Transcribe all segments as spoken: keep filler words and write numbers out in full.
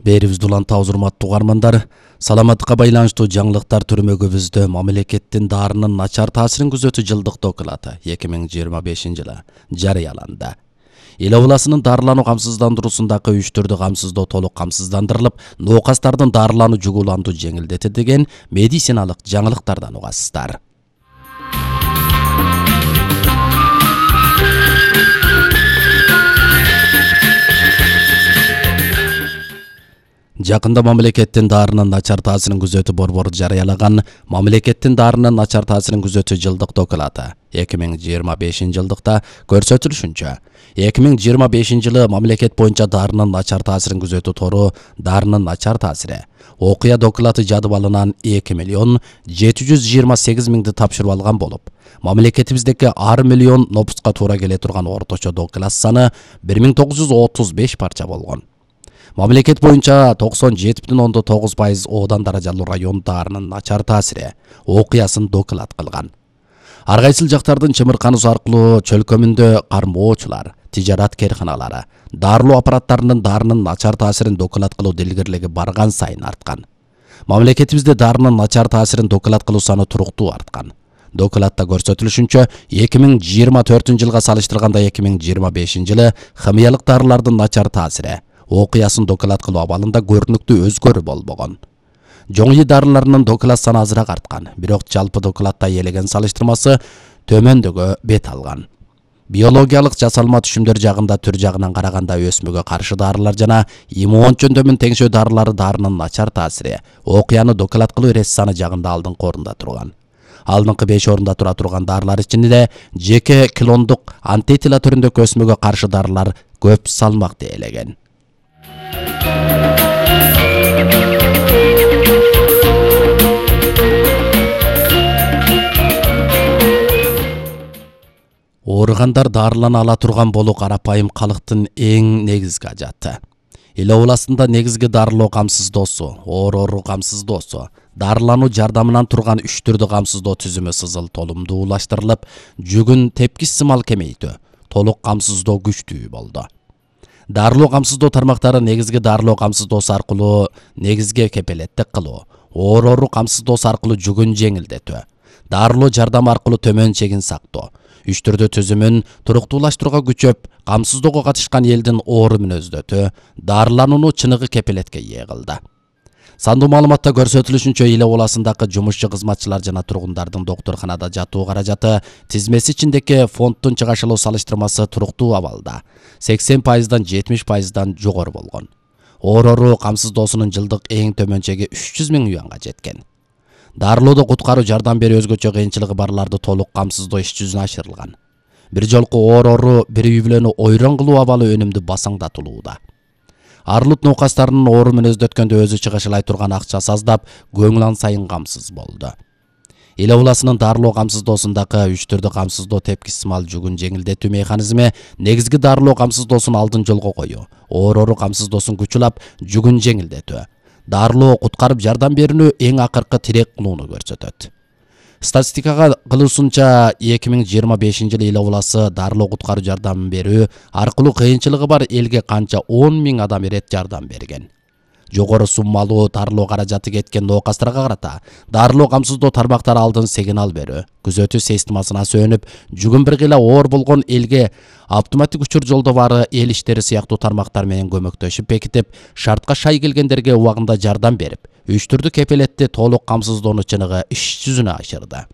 Берибизди улантабыз, урматтуу угармандар. Саламаттыкка байланыштуу жаңылыктар түрмөгүбүздө мамлекеттин дарынын начар таасирин күзөтүү жылдык доклады эки миң жыйырма бешинчи жылы жарыяланды. Эл областынын дарылануу камсыздандыруусундагы үч түрдүү камсыздоо толук камсыздандырылып, ноокастардын дарылануу жугуландуу жеңилдети деген медициналык жаңылыктардан угасыздар. Жакында мамлекеттин дарынын начар таасирин күзөтүү борбору жарыялаган мамлекеттин дарынын начар таасирин күзөтүү жылдык доклады эки миң жыйырма бешинчи жылдыкта көрсөтүлүшүнчө, эки миң жыйырма бешинчи жылы мамлекет боюнча дарынын начар таасирин күзөтүү тору дарынын начар таасири окуя доклады жадыбалынан эки миллион жети жүз жыйырма сегиз миңди тапшырып алган болуп, мамлекетибиздеги ар миллион нопуска туура келе турган орточо доклад саны бир миң тогуз жүз отуз беш парча болгон. Мамлекет боюнча токсон жети бүтүн ондон тогуз пайыз оодан даражалуу район дарынын начар таасири окуясын доклад кылган. Ар кайсыл жактардын чымырканысы аркылуу чөлкөмүндө кармоочулар, тижарат керканалары, дарылоо аппараттарынын дарынын начар таасирин доклад кылуу дилгирлиги барган сайын арткан. Мамлекетибизде дарынын начар таасирин доклад кылуу саны туруктуу арткан. Докладта көрсөтүлүшүнчө, эки миң жыйырма төртүнчү жылга салыштырганда эки миң жыйырма бешинчи жылы химиялык дарылардын начар таасири окуясын доклад кылуу абалында көрүнүктүү өзгөрүү болбогон. Жоңуй дарыларынын доклад саны азыраак арткан, бирок жалпы докладда элеген салыштырмасы төмөндөгө бет алган. Биологиялык жасалма түшүмдөр жагында түр жагынан караганда өсмөгө каршы дарылар жана иммун жөндөмүн теңшөө дарылары дарынын начар таасири окуяны доклад кылуу эрес саны жагында алдыңкы орунда турган. Алдыңкы беш орунда тура турган дарылар ичинде жеке клондук антитила түрүндөгү өсмөгө каршы дарылар көп салмакты ээлеген. Ооругандар дарылана ала турган болуу карапайым калктын эң негизги ажаты. Эл областында негизги дарылоо камсыздоосу, оору камсыздоосу, дарылануу жардамынан турган үч түрдүү камсыздоо түзүмү сызыл толумдуулаштырылып, жүгүн тепкич сымал кемейтүү, толук камсыздоо күчтүү болду. Дарылоо камсыздоо тармактары негизги дарылоо камсыздоосу аркылуу негизги кепелеттик кылуу, оору камсыздоосу аркылуу жүгүн жеңилдетүү, дарылоо жардамы аркылуу төмөн чегин сактоо, үч түрдүү түзүмүн туруктуулаштырууга күчөп, камсыздоого катышкан элдин оору мүнөздөтүү, дарыланууну чыныгы кепелетке ээ кылды. Сандуу маалыматта көрсөтүлүшүнчө, эл областындагы жумушчу кызматчылар жана тургундардын доктурканада жатуу каражаты тизмеси ичиндеги фонддун чыгашылуу салыштырмасы туруктуу абалда, сексен пайыздан жетимиш пайыздан жогору болгон. Оору камсыздоосунун жылдык эң төмөн чеги үч жүз миң юанга жеткен. Дарылоодо куткаруу жардам берүү өзгөчө кыйынчылыгы барларды толук камсыздоо иш жүзүнө ашырылган. Бир жолку оору бир үй бүлөнү ойрон кылуу абалы өнүмдү басаңдатылууда. Арлут ноокастарынын оору мүнөздөткөндө өзү чыгышылай турган акчасы аздап, көңүл сайын камсыз болду. Эл областынын дарылоо камсыздоосундагы үч түрдүү камсыздоо тепкич сымал жүгүн жеңилдетүү механизми негизги дарылоо камсыздоосун алдын жолго коюу, оору камсыздоосун күчүлап, жүгүн жеңилдетүү, дарылоо куткарып жардам берүүнү эң акыркы тирек кылууну көрсөтөт. Статистикага кылуусунча, эки миң жыйырма бешинчи жылы эл обласы дарылоо куткаруу жардамын берүү аркылуу кыйынчылыгы бар элге канча он миң адам ирет жардам берген. Жогору суммалуу дарылоо каражаты кеткен ноокастарга карата дарылоо камсыздоо тармактары алдын сигнал берүү, күзөтүү системасына сөнүп, жүгүн бир кыйла оор болгон элге автоматтик учур жолдоо бары эл иштери сыяктуу тармактар менен көмөктөшүп бекитип, шартка шай келгендерге убагында жардам берип, үч түрдүү кепелетти толук камсыздоону чыныгы иш жүзүнө ашырды.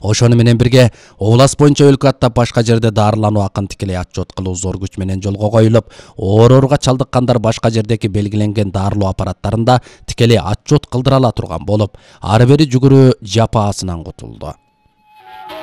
Ошону менен бирге област боюнча өлкө аттап башка жерде дарылануу акын тикелей отчет кылуу зор күч менен жолго коюлуп, ооруга чалдыккандар башка жердеги белгиленген дарылоо аппараттарында тикелей отчет кылдыра ала турган болуп, ары бери жүгүрүү жапаасынан кутулду.